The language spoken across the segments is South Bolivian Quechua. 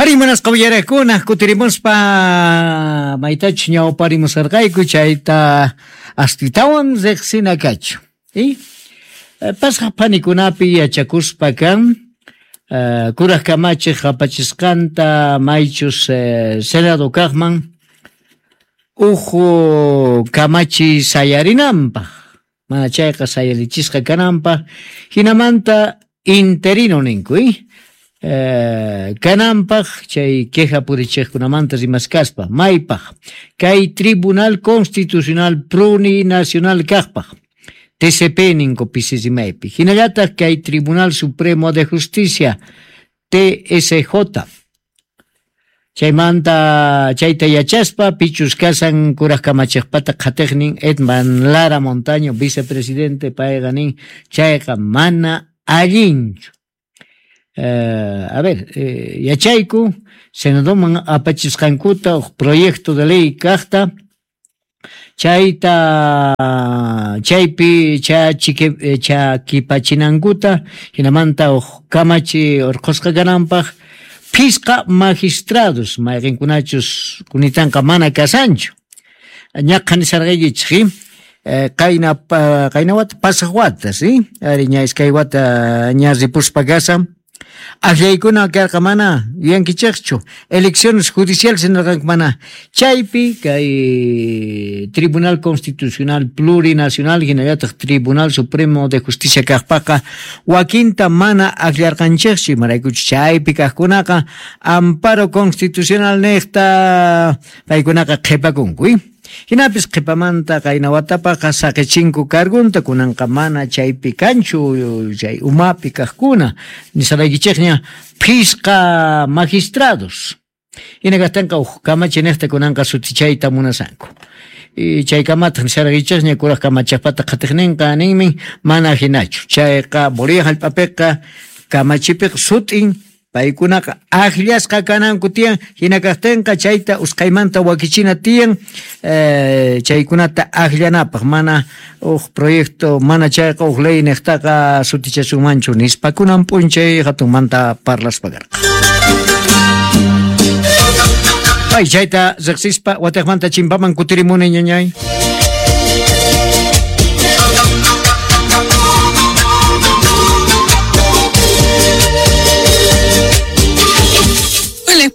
Arí, munasqa uyariqkuna, kutirimuspa maytachus ñawparimusarqayku chayta astitawan riqsina kachu. Y pasaq phanikunapi yachakuspa kan kuraj kamachiq apachisqanta maychus Senado kaqman uj kamachi sayarinanpaq, mana chayqa sayarichisqa kananpaq, jinamanta interino ninku, kananpaq chay queja purichiqkunamanta rimaskaspa, maypaq kay Tribunal Constitucional Plurinacional kaqpaq, TCP ninku pisi rimaypi, hinallataq kay Tribunal Supremo de Justicia TSJ. Chaymanta chayta yachaspa pichus kasan kuraj kamachiqpata qhatiqnin Edman Lara Montaño, vicepresidente, payqa nin chayqa mana allinchu. A ver, yachayku Senadoman apachisqankuta uj proyecto de ley kaqta chayta chaypi chakipachinankuta hinamanta uj kamachi urqhusqa kananpaq phisqa magistrados mayqinkunachus kunitanqa mana kasanchu. Ñaqha nisarqaykichik, qayna qayna wata pasaq wata, sí, ari ña iskay wata ña ripuspa kasan. Akllaykuna karqa mana yuyankichikchu, elecciones judiciales nirqanku mana. Chaypi kay Tribunal Constitucional Plurinacional hinallataq Tribunal Supremo de Justicia kaqpaqa wakinta mana akllarqanchikchu, imaraykuchus chaypi kaqkunaqa amparo constitucional niqta paykunaqa qhipakunku. Hinapis qhipamanta qayna watapaqa saqichinku cargunta, kunanqa mana chaypi kanchu chay umapi kaqkuna, nisaraykichikña phisqa magistrados. Hina kaqtinqa uj kamachi niqta kunanqa sutichayta munasanku. Chay kamataq nisaraykichikña kuraj kamachiqpata qhatiqninqa ninmi mana hinachu. Chayqa Bolivia hallp'apiqa kamachipiqa sut'in paykunaqa akllasqa kananku tiyan, hina kaqtinqa chayta usqhaymanta wakichina tiyan, chaykunata akllanapaq mana uj proyecto, mana chayqa uj ley niqtaqa sutichasunmanchu nispa kunan p'unchay hatunmanta parlaspa karqa. Ay, chayta riqsispa watiqmanta chimpaman kutirimuni ñañay.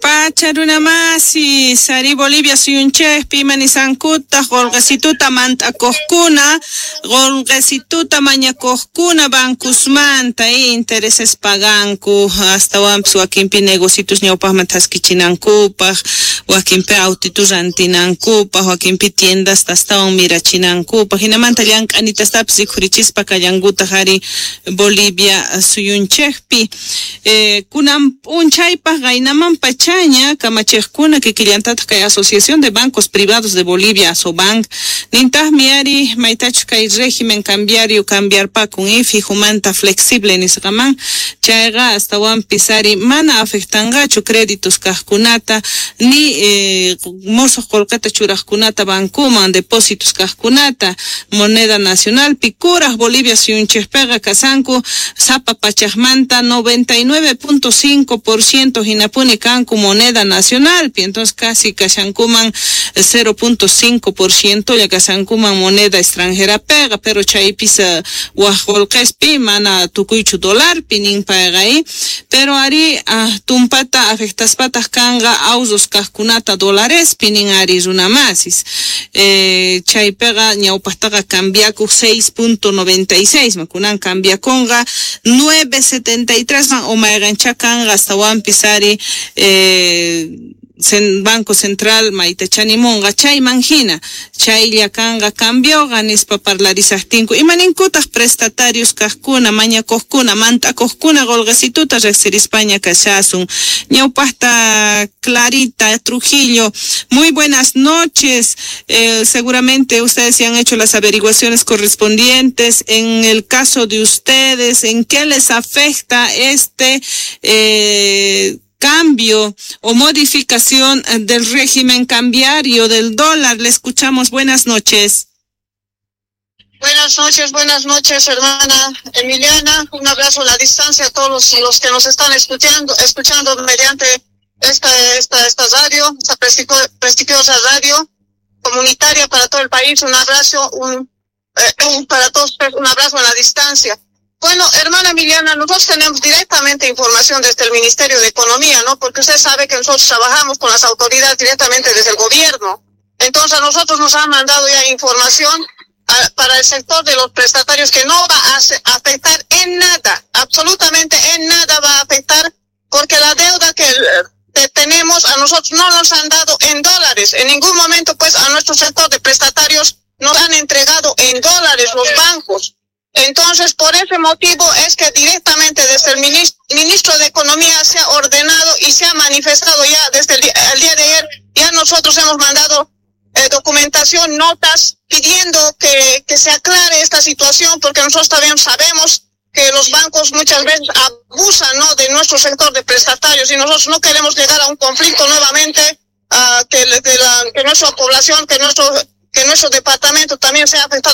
Pacha runa masi, sari Bolivia suyunchikpi manisankuta, qolqesituta mant'akuqkuna, qolqesituta mañakuqkuna bankusmanta intereses paganku, astawanpis wakinpi negocitos ñawpaqman thaskichinankupaq, wakinpi autitus rantinankupaq, wakinpi tiendas astawan mirachinankupaq, hinamanta llank'anitastapis rikhurichispa kallankutaq ari Bolivia suyunchikpi. Kunan p'unchaypaq qaynaman pachaña kamachiqkuna kikillantataq kay Asociación de Bancos Privados de Bolivia, ASOBANC, nintaqmi ari maytachus kay régimen cambiario cambiarpakun fijumanta flexible nisqaman, chayqa astawanpis ari mana afectanqachu créditos kaqkunata ni mosuq qullqita churaqkunata bankuman depósitos kaqkunata moneda nacionalpi kuraj Bolivia suyunchikpiqa kasanku sapa pachaqmanta 99.5% hinapuni kanku moneda nacionalpi, entonces casi kashankuman 0.5% ya kashankuman moneda extranjera pega, pero chaypis waj qullqispi mana tukuychu dolarpi nin payqa, pero ari tumpata afectaspataq kanqa awsos kaqkunata dolarespi nin ari runamasis. Chaypiqa ñawpaqtaqa cambiakuq 6.96 man, kunan cambiakunqa 9.73 man o mayqancha kanqa astawanpis ari Banco Central maytachanimunqa chayman hina chaylla kanqa cambioqa nispa parlarisaqtinku. Imaninkutaq prestatarios kaqkuna mañakuqkuna mant'akuqkuna qolqesituta riqsirispaña kashasun. Ñawpaqta Clarita Trujillo, muy buenas noches. Seguramente ustedes se han hecho las averiguaciones correspondientes. En el caso de ustedes, ¿en qué les afecta este cambio o modificación del régimen cambiario del dólar? Le escuchamos. Buenas noches. Buenas noches, hermana Emiliana. Un abrazo a la distancia a todos los que nos están escuchando mediante esta radio, esta prestigiosa radio comunitaria para todo el país. Un abrazo, para todos ustedes, un abrazo en la distancia. Bueno, hermana Emiliana, nosotros tenemos directamente información desde el Ministerio de Economía, ¿no? Porque usted sabe que nosotros trabajamos con las autoridades directamente desde el gobierno. Entonces, a nosotros nos han mandado ya información para el sector de los prestatarios que no va a afectar en nada, absolutamente en nada va a afectar, porque la deuda que tenemos a nosotros no nos han dado en dólares. En ningún momento, pues, a nuestro sector de prestatarios nos han entregado en dólares los bancos. Entonces, por ese motivo es que directamente desde el ministro de Economía se ha ordenado y se ha manifestado ya desde el día de ayer, ya nosotros hemos mandado documentación, notas, pidiendo que se aclare esta situación, porque nosotros también sabemos que los bancos muchas veces abusan, ¿no?, de nuestro sector de prestatarios, y nosotros no queremos llegar a un conflicto nuevamente, que nuestra población, que nuestro departamento también sea afectado.